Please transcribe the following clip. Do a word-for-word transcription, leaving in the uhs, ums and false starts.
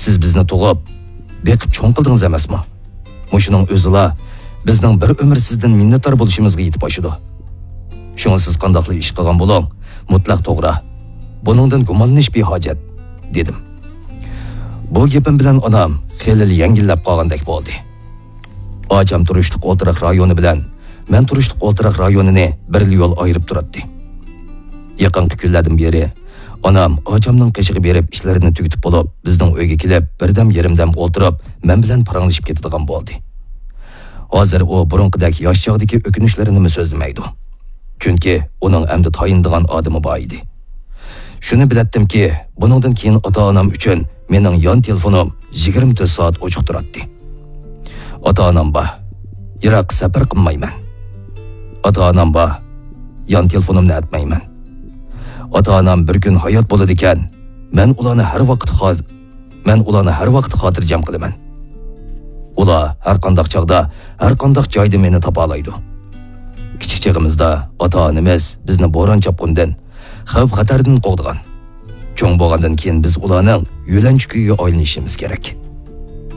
سىز بىزنى تۇغۇپ، بېقىپ چوڭ قىلدىڭىز ئەمەسمۇ؟ مۇشۇنىڭ ئۆزىلا بىزنىڭ بىر ئۆمۈر سىزدىن مىننەتدار بولۇشىمىزغا يېتىپ ئاشىدۇ. شۇڭا سىز قانداقلا ئىش قىلغان بولۇڭ، مۇتلەق توغرا. بۇنىڭدىن گۇمانلىنىش بىھاجەت، دېدىم. بۇ گېپىم بىلەن ئانام خېلىلا يەڭگىللەپ قالغاندەك بولدى. ئاچام تۇرۇشلۇق ئولتۇراق رايونى بىلەن مەن تۇرۇشلۇق ئولتۇراق رايونىنى بىرلا يول ئايرىپ تۇراتتى. يېقىنقى كۈنلەردىن بېرى ئانام ئاچامنىڭ قېشىغا بېرىپ ئىشلىرىنى تۈگىتىپ بولۇپ، بىزنىڭ ئۆيگە كېلىپ، بىردەم يېرىمدەم ئولتۇرۇپ، مەن بىلەن پاراڭلىشىپ كېتىدىغان بولدى. ھازىر ئۇ بۇرۇنقىدەك ياش چاغدىكى ئۆكۈنۈشلىرىنىمۇ سۆزلىمەيدۇ. چۈنكى ئۇنىڭ ئەمدى تايىنىدىغان ئادىمى بار ئىدى. شۇنى بىلەتتىمكى، بۇنىڭدىن كېيىن ئاتا-ئانام ئۈچۈن مېنىڭ يان تېلېفونۇم يىگىرمە تۆت سائەت ئوچۇق تۇراتتى. ئاتا-ئانام بار. يىراق سەپەر قىلمايمەن. ئاتا-ئانام بار. يان تېلېفونۇمنى ئەتمەيمەن. ئاتا-ئانام بىر كۈن ھايات بولىدىكەن، مەن ئۇلارنى ھەر ۋاقىت خا-، مەن ئۇلارنى ھەر ۋاقىت خاتىرجەم قىلىمەن. ئۇلار ھەر قانداق چاغدا، ھەر قانداق جايدا مېنى تاپالايدۇ. كىچىك چېغىمىزدا ئاتا-ئانىمىز بىزنى بوران چاپقۇندىن، خەۋپ-خەتەردىن قوغدىغان. چوڭ بولغاندىن كېيىن بىز ئۇلارنىڭ يۆلەنچۈكىگە ئايلىنىشىمىز كېرەك.